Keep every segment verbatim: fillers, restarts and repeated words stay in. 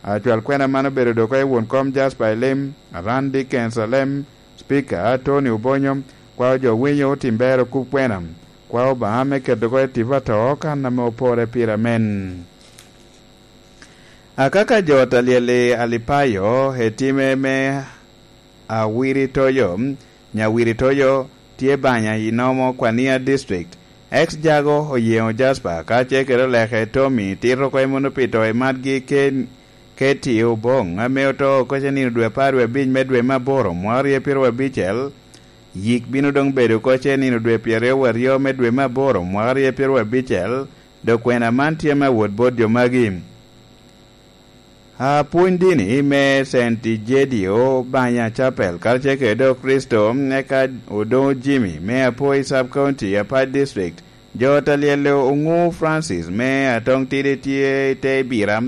Acwal kwena man obedo dok i won kom Jasper Elim, Randy Kensalem, Speaker Tony Obonyo, kwao jo winyo otim bero kub kwena, kwao Obaŋa me keto oko i tipo atoo kan ame opore pire amen. Akaka jo talyel i Alipayo etime me Awiritoyo, Nyawiritoyo tye banya i Nomo Kwania District. Ex Jago Oyeŋo Jasper kacel kede oleke Tommy tito oko i muno pi to i matgi ke, ke tio Oboŋ ame oto oko ce nino dwe apar wie abic me dwe me aboro mwaka rye pyero abicel. Yik bino doŋ bedo oko ce nino dwe pyeraryo aryo me dwe me aboro mwaka rye pyero abicel, dok kwena man tye me awot bot jo magi. Apwony dini me Saint Egidio Banya Chapel karacel kede Dok Kricito, eka Odongo Jimmy me Apoi Sub County, Apac District, jo talyel Oŋu Francis me Atoŋ Tidi tye i te Bira,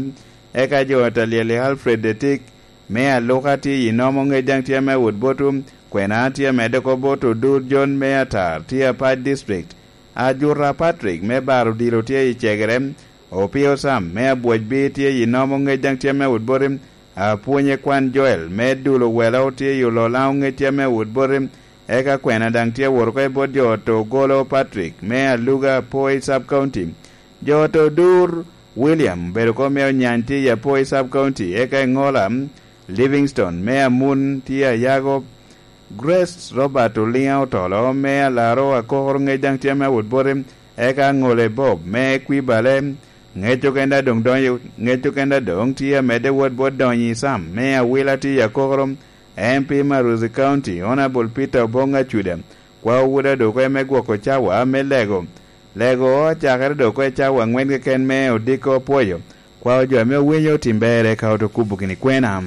eka jo talyel Alfred Etik me Aluka tye i Nomo ŋec daŋ tye me wot botu, kwena tye medde oko bot Odur John me Atar tye Apac District, Ajuta Patrick me Baro Odilo tye i Cegere, Opio Sam me Abwocbi tye i Nomo ŋec daŋ tye me wot boti, Apwonye Kwan Joel me Dulo Welo tye i Ololaŋo ŋec tye me wot boti, eka kwena daŋ tye wot oko i bot jo oto Ogolo Patrick me Aluga Apoi Sub County. Jo oto Odur William obedo oko me Onyany tye i Apoi Sub County, eka i Ŋola Livingstone me Amun tye Ayago, Grace Robert Oliŋa Otolo me Alaro Akokoro ŋec daŋ tye me wot boti, eka Ŋole Bob me Kwibale, ŋec okenda doŋ donyo, ŋec okenda doŋ tye amedde wot bot donyo i Sam me Awila tye i Akokoro, M P Maruzi County, Honorable Peter Oboŋ Acuda, kwao woda dok eme gwoko cawa me lego. Lego ocakere dok i cawa aŋwen keken me odiko apwoyo, kwao jo ame owinyo otim berre ka oto kubo gini kwena.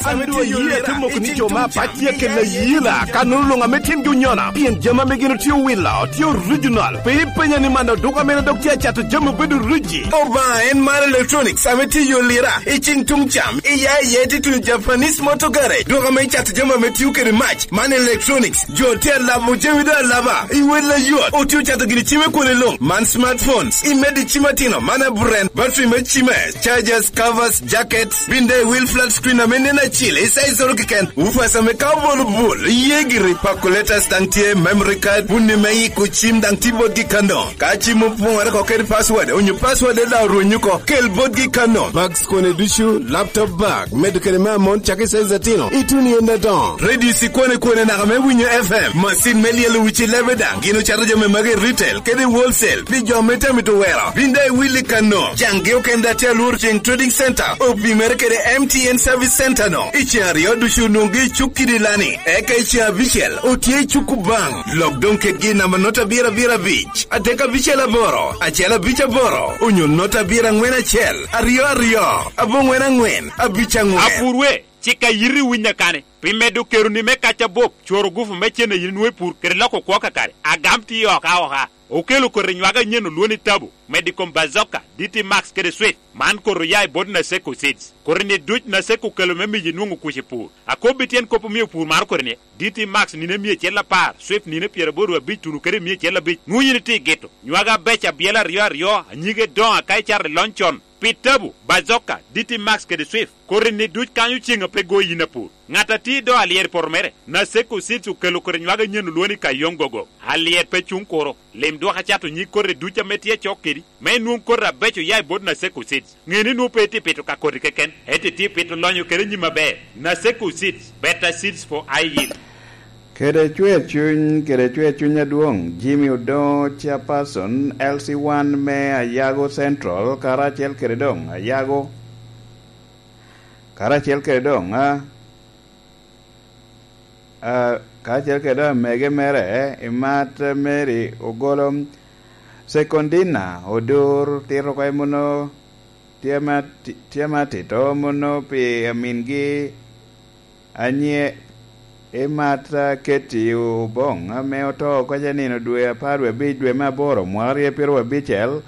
An dwe ayie ate moko ni jo me apac tye kela yela, ka nwoŋo luŋ ame tyengi onyona, pien jami ame gin otye owilo tye original. Pe ipenya ni man oduka mene dok tye acato jami obedo riji. Obaŋa en mar Electronics ame tye i Olira, i ceng tuŋ cam, i ya i ya ite tuno Japanese Motor Garage, duka ame icato jami ame tio kede mac. Man Electronics, jo tye alabo jami do alaba, i wel ayot, otye ocato gini cime kwone luŋ. Man smartphones, imedo i cim atino, man aburen, battery me cime, chargers, covers, jackets, bin daŋ i wil flat screen ame nen acil, i size oro keken, woofers ame ka obolo bul, iye giri, calculators daŋ tye, memory card, bunni me yiko cim daŋ tye botgi kano. Ka cim opoŋore oko kede password, onyo password daŋ orwenyo oko, kel botgi kano. Bags kone ducu, laptop bag, medo kede me amon cak i size atino, ituno i en adoŋo. Radio cikwane kwane naka me winyo F M, macin me lyelo wic i lebe daŋ, gin ocato jami magi i retail kede i wholesale pi jo me tamo i towero. Bin daŋ iwil i kano, caŋgi okende atye alworo ceŋ Trading Center, opimere kede M T N Service Center no. I ceŋ aryo ducu onwoŋgi i cuk kidi lani, eka i ceŋ abicel otye i cuk Kubaŋ. Lok doŋ kedgi i namba nota abiro abiro abic, adek abicel aboro, acel abic aboro, onyo nota abiro aŋwen acel, aryo aryo, aboŋwen aŋwen, abic aŋwen. Apurwe, cik a yiti winnya kani, pi medo keroni me kac abop, cworo gufu me cen a yin nwoŋo i pur, kede loko kwo kakare, agam tye oka oka. Okelo koti nywaka anyen olwoni Tabo, medo i kom Bazoka, D T Max kede Swift. Man koti oya i bot Naseko Seeds. Koti-ni duc Naseko okelo me miyo inwoŋo kuc i pur. Akobbi tyen kop omio pur maro koti-ni, D T Max nino emia acel apar, Swift nino pyeraboro abic tuno kede emia acel abic. Nwoŋo yin itye i gito. Nywaka abeco abyela aryo aryo, anyige doŋo aka icato i lony con. Pi Tabo, Bazoka, D T Max kede Swift, koti-ni duc kanyo ceŋ a pe go yin apur. Ŋat a tye i do alyet i poto mere, Naseko Seeds okelo koti nywaka anyen olwoŋo ni Kayong Gogo. Alyet pe cuŋ kuro. Lim dwok acato nyig koti duc ame tye acok kedi, me inwoŋ koti abeco oya i bot Naseko Seeds. Ŋe ni nwoŋo pe itye pito ka koti keken, ento itye pito lonyo kede nyim aber. Naseko Seeds, better seeds for high yield. Kede cwer cuny, kede cwer cuny adwoŋ, Jimmy Odongo, Chairperson, L C one me Ayago Central, karacel kede doŋ Ayago, karacel kede doŋ, a, a, karacel kede doŋ amege mere, Imat Mary Ogolo, Sekondina Odur, tito oko i muno, tye ma ti-, tye ma tito muno pi amingi, Anye, Imat Keti Oboŋ, ame oto oko ce nino dwe apar wie abic dwe me aboro mwaka rye pyero abicel,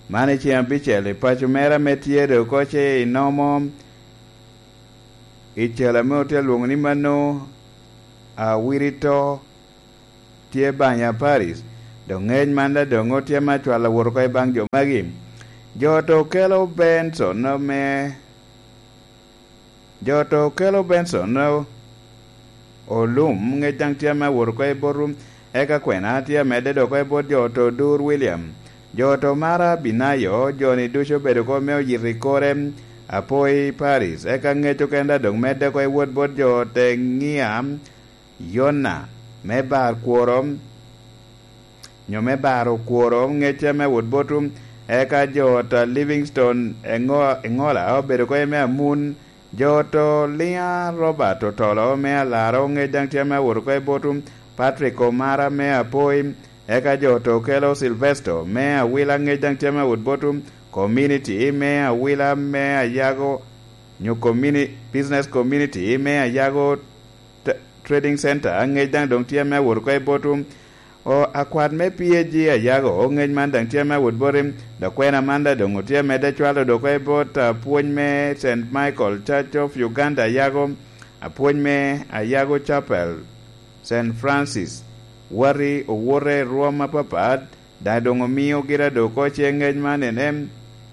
man i ceŋ abicel i paco mere ame tye do oko ce i Nomo, i cel ame otye alwoŋo ni mano, Awirito, tye Banya Paris. Doŋ ŋec man daŋ doŋ otye me acwalo wot oko i baŋ jo magi. Jo to kelo Benson me Jo to kelo Benson o-, olum, ŋec daŋ tye ame awot oko i bot rum, eka kwena tye amedde dok oko i bot jo to Dur William. Jo to mara Binayo, joni ducu obedo oko me oyito i kore, Apoi Paris, eka ŋec okene daŋ doŋ medde oko i wot bot jo te Ŋia, Yona, me bar kworo, nyo me baro kworo ŋecce me wot botu, eka jo ta Livingstone eŋo-, eŋola obedo oko i me amun, jo to Lia Robert Otolo me alaro ŋec daŋ tye me wot oko i botu, Patrick Omara me apoi, eka jo to kelo Silvesto me awila ŋec daŋ tye me wot botu, community me awila me ayago, nyo communi-, business community me ayago t-, trading center, ŋec daŋ doŋ tye me awot oko i botu. O, akwat me P A G ayago, ŋec man daŋ tye me awot boti, dok kwena man daŋ doŋ otye medde cwalo dok oko i bot apwony me Saint Michael Church of Uganda ayago, apwony me ayago Chapel, Saint Francis, wati owote i rwom apapat, daŋ doŋ omio gira dok oko ce ŋec man en en,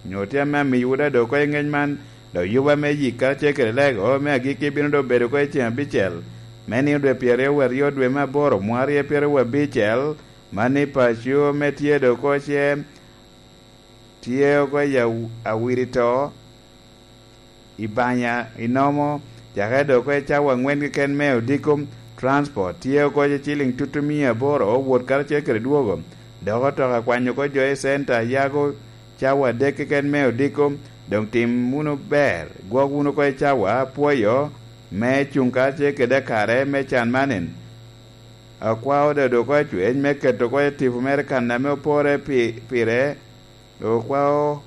nyo tye ame amiyowu daŋ dok oko i ŋec man, dok yuba me yik karacel kede lego me agikki bino doŋ bedo oko i ceŋ abicel, me nino dwe pyeraryo aryo dwe me aboro mwakaryo pyeraryo abicel, man ni paco me tye dok oko ce tye oko i aw-, awiri to, i banya, i nomo, cakere dok oko i cawa aŋwen keken me odiko, transport, tye oko i ciliŋ tutumia aboro, wot karacel kede dwogo, dok otoka kwanyo oko jo i centa, yago cawa adek keken me odiko, doŋ tim wunu ber, gwok wunu oko i cawa, apwoyo, me cuŋ karacel kede akare me can man en. Akwao dodo oko acwec me keto oko i tipo mere kan ame opore pi-, pire, Okwao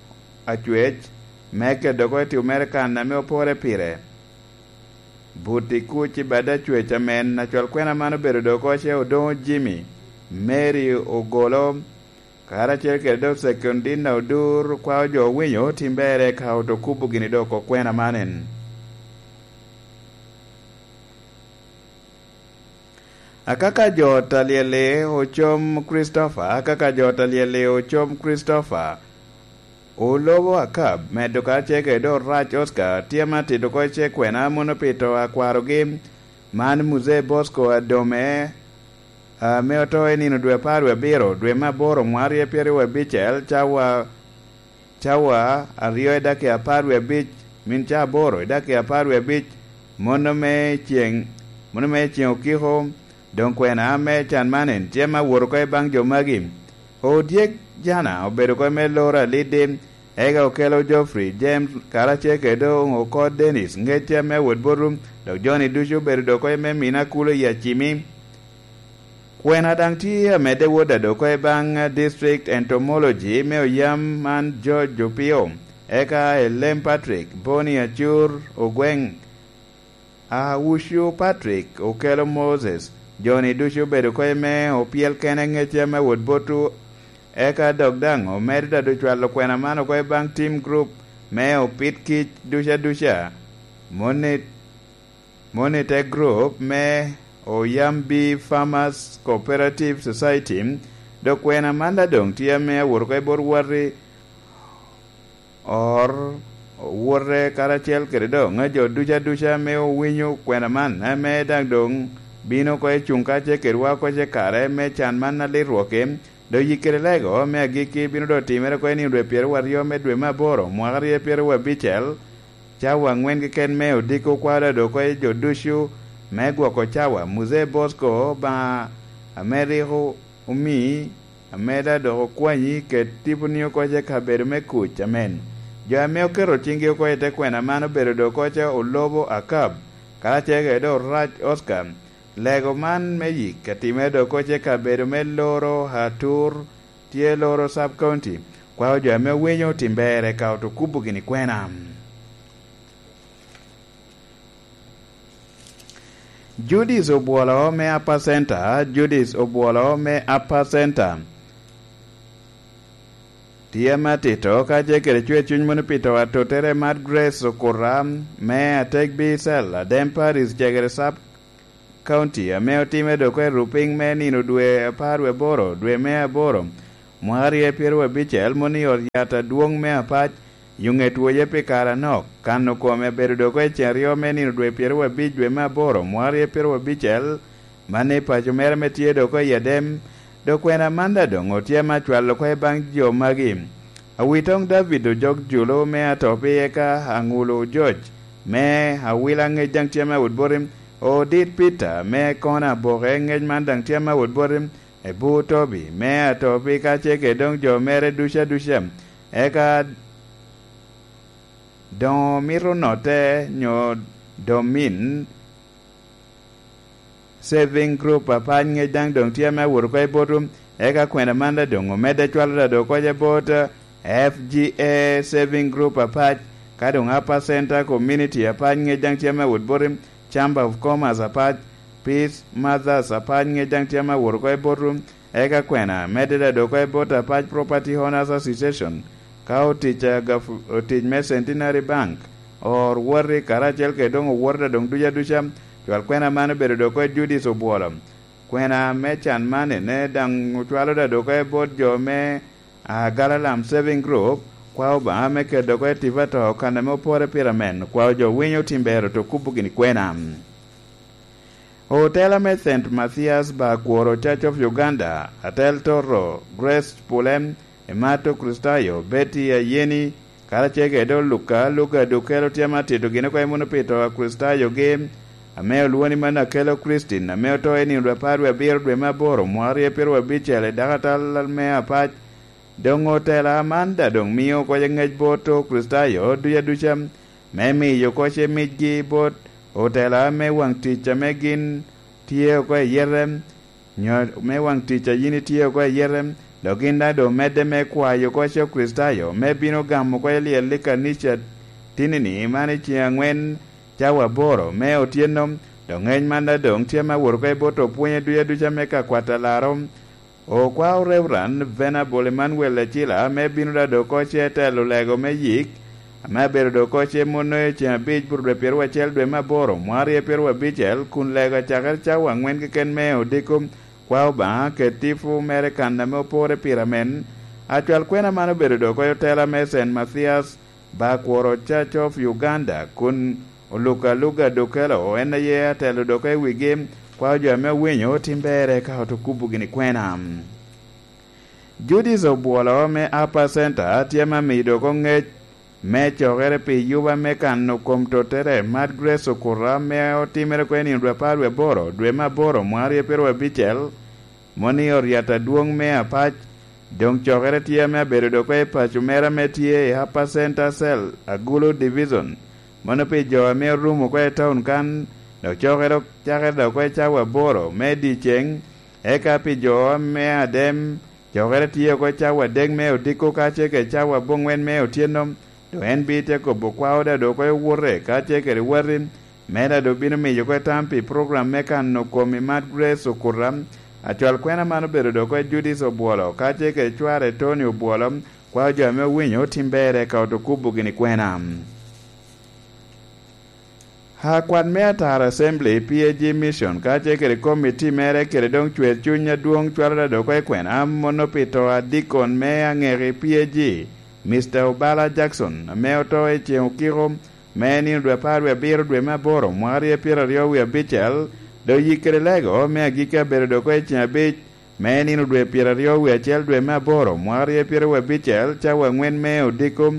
acwec me kedo oko i tipo mere kan ame opore pire. But i kuc i bad acwec amen, acwal kwena man obedo dok oko ce Odoŋo Jimmy, Mary Ogolo, karacel kede dok Sekondina Odur, okwao jo owinyo tim berre ka oto kubo gini dok oko kwena man en. Akaka jo ta Lyeli Ocom Christopher, akaka jo ta Lyeli Ocom Christopher, Olobo Akab, medo karacel kede Orac Oscar, tye ma tito oko ce kwena mono pi to a kwarogi, man Muzee Bosco Adome, ame oto i nino dwe apar wie abiro, dwe me aboro, mwakaryo pyeraryo abicel, cawa cawa aryo i dakika apar wie abic, min ca aboro i dakika apar wie abic, mono me ceŋ, mono me ceŋ okiko, doŋ kwena me can man en tye me awot oko i baŋ jo magi. Odyek Jana obedo oko me loro aliddi, eka okelo Geoffrey James karacel kede doŋ oko Dennis ŋecce ame awot botu, dok joni ducu obedo dok oko me mina kulo i acimi. Kwena daŋ tye amedde wot adoko i baŋ District Entomology me oyam man George Opio, eka Elem Patrick, Boni Acur, Ogweŋ, Awucu Patrick, Okelo Moses, joni ducu obedo oko i me opyel kene ŋecce ame wot botu, eka dok daŋ omedo dado cwalo kwena man oko i baŋ team group me opit kic duca duca. Moni Moni te group me Oyambi Farmers Cooperative Society, dok kwena man daŋ doŋ tye ame awot oko i bot wati or, owote karacel kede doŋ jo duca duca ame owinyo kwena man, ame daŋ doŋ bino oko i cuŋ kacel kedwa oko ce kare me can man alit rwokki. Dok yik kede lego me agikki bino doŋ timere oko i nino dwe pyeraryo aryo me dwe me aboro, mwaka aryo pyeraryo abicel, cawa aŋwen keken me odiko kwaro dok oko i jo ducu me gwoko cawa. Muzee Bosco, Obaŋa ame rik o-, omi, ame daŋ dok okwanyi, ket tiponi oko i kabedo me kuc. Amen. Jo ame oketo ciŋgi oko i te kwena man obedo dok oko ce Olobo Akab, karacel kede Orac Oscar. Lego man me yik atimere dok oko ce kabedo me loro Atur, tye loro Sub County. Kwao jo ame owinyo otim ber eka oto kubo gini kwena. Judith Obwolo me Upper Center, Judith Obwolo me Upper Center. Tye me atito ka ce kede cwer cuny mono pi to atottere mar Grace Okuta me Atek Bicel, Adem Paris, cegere Sub County ame otimme dok i Rupiny me nino dwe apar wie aboro, dwe me aboro, mwaka aryo pyeraryo abicel, moni ot yat adwoŋ me Apac, yuŋe twoye pi kare anok, kano kome abedo dok i ceŋ aryo me nino dwe pyeraryo abic, dwe me aboro, mwaka aryo pyeraryo abicel, man i paco mere ame tye dok i Adem, dok kwena man daŋ doŋ otye ame acwalo oko i baŋ jo magi. Awitoŋ David Ojok Julu me Atopi, eka Aŋulu George me Awila, ŋec daŋ tye ame awot boti, Odit Peter me Kona Aboke, ŋec man daŋ tye ame awot boti, Ebu Tobi me Atopi, ka ce kede doŋ jo mere ducu aduca, eka doŋ omito notte nyo domin Saving Group Apac, ŋec daŋ doŋ tye ame awot oko i botwu, eka kwena man daŋ doŋ omedde cwalo daŋ doŋ oko i bot F G A Saving Group Apac, ka doŋ Upper Center Community Apac, ŋec daŋ tye ame awot boti, Chamber of Commerce Apac, Peace Mothers Apac, ŋec daŋ tye ame awot oko i botwu, eka kwena medde daŋ doŋ oko i bot Apac Property Owners Association, ka otic a gaf-, otic me Centenary Bank, or woti karacel kede doŋ owote daŋ doŋ ducu aduca, cwal kwena man obedo doŋ oko i Judith Obwolo. Kwena me can man ene daŋ ocwalo daŋ doŋ oko i bot jo me, ah, Galalam Saving Group, kwa Obaŋa me keto doŋ oko i tipo ato kan ame opore pire amen, kwa jo winyo tim ber oto kubo gini kwena. Otela me Saint Mathias Bakworo Church of Uganda, Atel Toto Grace Pulem, Emato Kricitayo, Betty Ayeni, karacel kede Luka Luka Dukelo tye ame atito gin oko i muno pi to a Kricitayogi, ame olwoni man Akelo Christine, ame oto i nino dwe apar wie abiro dwe me aboro mwaka aryo pyeraryo abicel i dakatal me Apac. Doŋ otela man daŋ doŋ mio oko ŋec bot Okricitayo ducu aduca, me miyo oko ce micgi bot otela me waŋ tic ame gin tye oko i yete, nyo me waŋ tic a yin itye oko i yete, dok gin daŋ doŋ medde me kwayo oko ce Okricitayo me bino gamo oko i lyel i kanica tinini man i ceŋ aŋwen cawa aboro me otyeno, dok ŋec man daŋ doŋ tye me awot oko i bot opwonye ducu aduca me ka kwat alaro. Okwao Reverend Venerable Emmanuel Acila ame bino daŋ doŋ oko ce telo lego me yik, ame abedo doŋ oko ce mono i ceŋ abic bur dwe pyeraryo acel dwe me aboro mwaka aryo pyeraryo abicel, kun lego acakere cawa aŋwen keken me odiko, kwa Obaŋa kede tipo mere kan ame opore pire amen. Acwal kwena man obedo doŋ oko i otela me Saint Mathias Bakworo Church of Uganda, kun Oluka Luga Dokelo en aye atelo doŋ oko i wigi, kwao jo ame owinyo tim berre ka oto kubo gini kwena. Judith Obwolo me Upper Center tye ame amiyo doŋ oko ŋec me cokere pi yuba me kano kom tottere, Mad Grace Okuta, ame otimere oko i nino dwe apar wie aboro, dwe me aboro, mwaka aryo pyeraryo abicel, moni oryat adwoŋ me Apac. Doŋ cokere tye ame abedo doŋ oko i paco mere ame tye i Upper Center Cell, Agulu Division. Mano pi jo ame orumo oko i taun kan, dok cokere cakere doŋ oko i cawa aboro me dyeceŋ, eka pi jo ame adem, cokere tye oko i cawa adek me odiko ka ce kede cawa aboŋwen me otyeno, dok en bite kobo kwao daŋ doŋ oko i wute ka ce kede wati, me daŋ doŋ bino miyo oko tam pi program me kano kom i Mad Grace Okuta. Acwal kwena man obedo doŋ oko i Judith Obwolo, ka ce kede cware Tony Obwolo, kwao jo ame owinyo tim berre ka oto kubo gini kwena. Akwat me Atara Assembly, P A G Mission, ka ce kede komiti mere kede doŋ cwer cuny adwoŋ cwalo daŋ doŋ oko i kwena, mono pi to a dikon me aŋeki P A G, Mister Obala Jackson, ame oto i ceŋ okiko, me nino dwe apar wie abiro dwe me aboro mwaka aryo pyeraryo wie abicel, dok yik kede lego me agikki abedo doŋ oko i ceŋ abic, me nino dwe pyeraryo wie acel dwe me aboro mwaka aryo pyeraryo wie abicel, cawa aŋwen me odiko.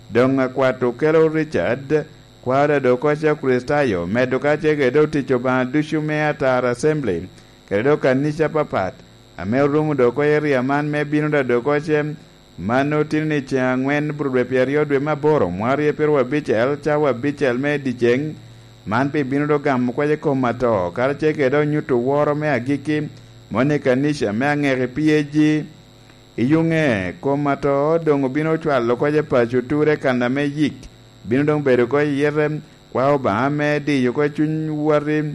Doŋ akwat Okelo Richard, kwao daŋ doŋ oko ce Okricitayo, medo ka ce kede doŋ tic Obaŋa ducu me Atara Assembly, kede doŋ kanica apapat, ame orumo doŋ oko i area man me bino daŋ doŋ oko ce, mano tino ni ceŋ aŋwen bur dwe pyeraryo dwe me aboro mwaka aryo pyeraryo abicel, cawa abicel me dyeceŋ, man pi bino doŋ gamo kwac i kom ato, karacel kede doŋ nyuto woro me agikki, moni kanica me aŋeki P A G. I yuŋe, kom ato doŋ obino cwalo kwac i paco ture kan ame yik, bino doŋ bedo oko i yete, kwa Obaŋa me diyo oko cuny wati.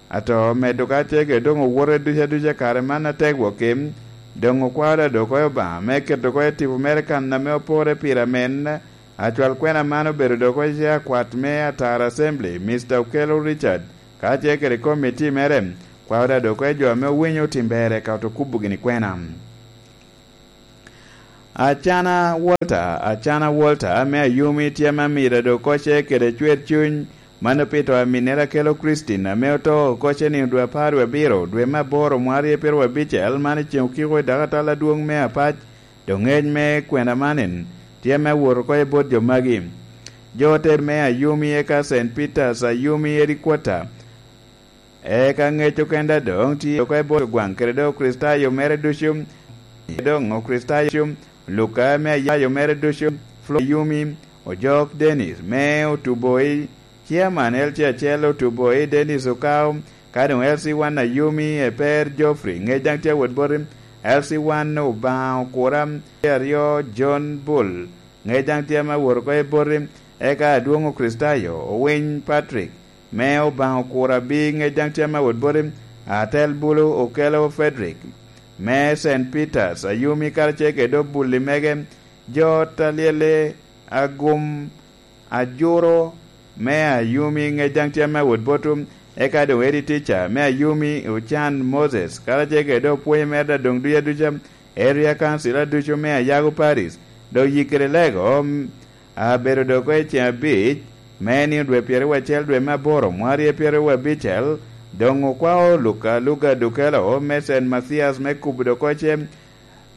Ato medo ka ce kede doŋ owote duca duca kare man atek wok kim, doŋ okwao daŋ doŋ oko i Obaŋa me keto oko i tipo mere kan ame opore pire amen. Acwal kwena man obedo doŋ oko ce akwat me Atara Assembly, Mister Okello Richard, Ka tye kede komiti mere, kwao daŋ dok oko i jo ame owinyo tim ber eka oto kubo gini kwena. Acana Walter, Acana Walter ame Ayumi tye ame amiro dok kocce kede cwer cuny, mano pi to aminnere akelo Christine ame oto kocce nino dwe apar dwe abiro, dwe me aboro, mwarye pyeraryo abicel, man i ceŋ okiko i dakatal adwoŋ me Apac, dok ŋec me kwena manin tye ame awot oko i bot jo magi. Jo te me Ayumi eka Saint Peter's, Ayumi Headquarter, eka ŋec okenda doŋ tye oko i bot gwaŋ kede doŋ Okricitayo mere ducu, doŋ Okricitayo, Luka me Ayayo mere ducu, Flo Ayumi, Ojok Dennis me Otuboi, Chairman L C acel Otuboi Dennis Okao, ka doŋ L C one Ayumi Eper Geoffrey, ŋec daŋ tye awot boti, L C one Obaŋa Okura, aryo John Bull, ŋec daŋ tye ame awot oko i boti, eka adwoŋ Okricitayo, Owiny Patrick, me Obaŋa Okura Abi, ŋec daŋ tye ame awot boti, Atel Bulu Okelo Frederick, me Saint Peter's, Ayumi karacel kede obulli mege, jo talyele agum ajuro me Ayumi, ŋec daŋ tye ame awot boti, eka doŋ Eddie Teacher me Ayumi, Ocan Moses, karacel kede doŋ opwonye mere adoŋ ducu aduca, Area Council aducu me Ayago Parish, doŋ yik kede lego, abedo doŋ oko i ceŋ abic, me nino dwe pyeraryo acel dwe me aboro, mwarye pyeraryo abicel, doŋ okwao Luka, Luka Dukelo, me Saint Mathias, me kubo doŋ oko ce,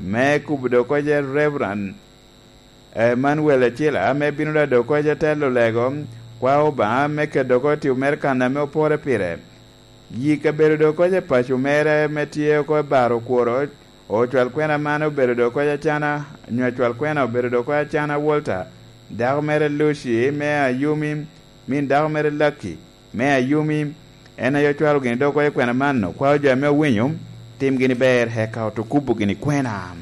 me kubo doŋ oko ce Reverend Emmanuel Acila, ame bino daŋ doŋ oko ce telo lego, kwao Obaŋa, me keto oko i tipo mere kan ame opore pire. Yi kabedo doŋ oko ce paco mere, ame tye oko i baro kworo, ocwal kwena man obedo doŋ oko ce Acana, nyo acwal kwena obedo doŋ oko ce Acana Walter, dako mere Lucy, me Ayumi, min dako mere Lucky, me Ayumi, en aye ocwalo gini doŋ oko ce kwena man, okwao jo ame owinyo, tim gini ber, eka oto kubo gini kwena.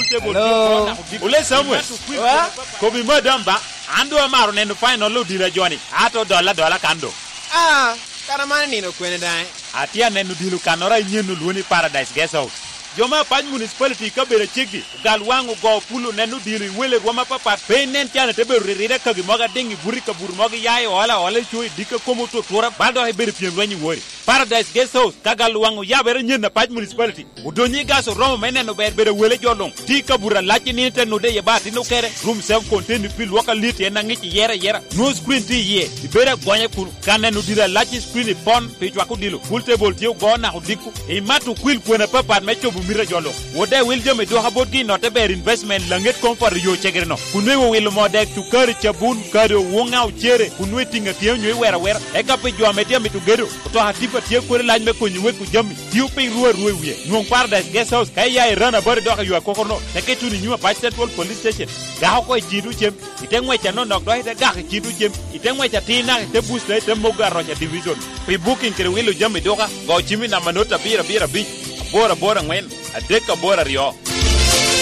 Hello. Ole Samuel. Wa? Kobi madam ba, an doŋ amaro neno final odilo a joni, ato dola dola kan doŋ. Ah, kara man nino kwene daŋ? Atye aneno odilo kannoro a inyen olwoni Paradise Guest House. Jo me Apac Municipality i kabedo aceggi, ogal waŋ ogo pulo neno odilo i wele rwom apapat, pe inen can ite bedo riride kagi mogo ading i buto i kabuto mogo iya i ola ola i co i dikka komo otutura, bal dok ibedo pyem lweny i wori. Paradise Guest House, ka gal waŋ oyabere nyen Apac Municipality. Odonyo i gas oromo me neno ber bedo wele jo luŋ. Tye i kabuto alac i nino te nude iye ba atin okere. Room seven contain pi lwok alit en aŋic iyere ayera. Nwoŋo screen tye iye. Ibedo agonya kun ka neno diro alac i screen i pon pi cwako dilo. Pool table tye ogo naka odiko. Imato okwil kwena apapat me cobo mito a jo luŋ. Wode wil jami dwoka botgi i notte ber investment laŋet koŋ poto yo cegere no. Kun nweŋo wilo moo dek, cukari, cabun, kado, woŋa, ocere, kun nweŋo itiŋo atiŋa onyo iwero awera. Eka pi jo ame tye amito gedo, otoka tipa tye kodi lac me konyo weko jami. Tio piny ru arua i wie. Nwoŋ Paradise Guest House ka iya i Rana Bari dok i yo akokoro no, teke ituno i nyim Apac Central Police Station. Gak oko i cito cem, ite ŋwec anonok dok ite gak i cito cem, ite ŋwec atir naka ite busta ite mogo aroca division. Pi booking kede wilo jami duka, go cim i namba not abiro abiro abic, aboro aboro aŋwen, adek aboro aryo.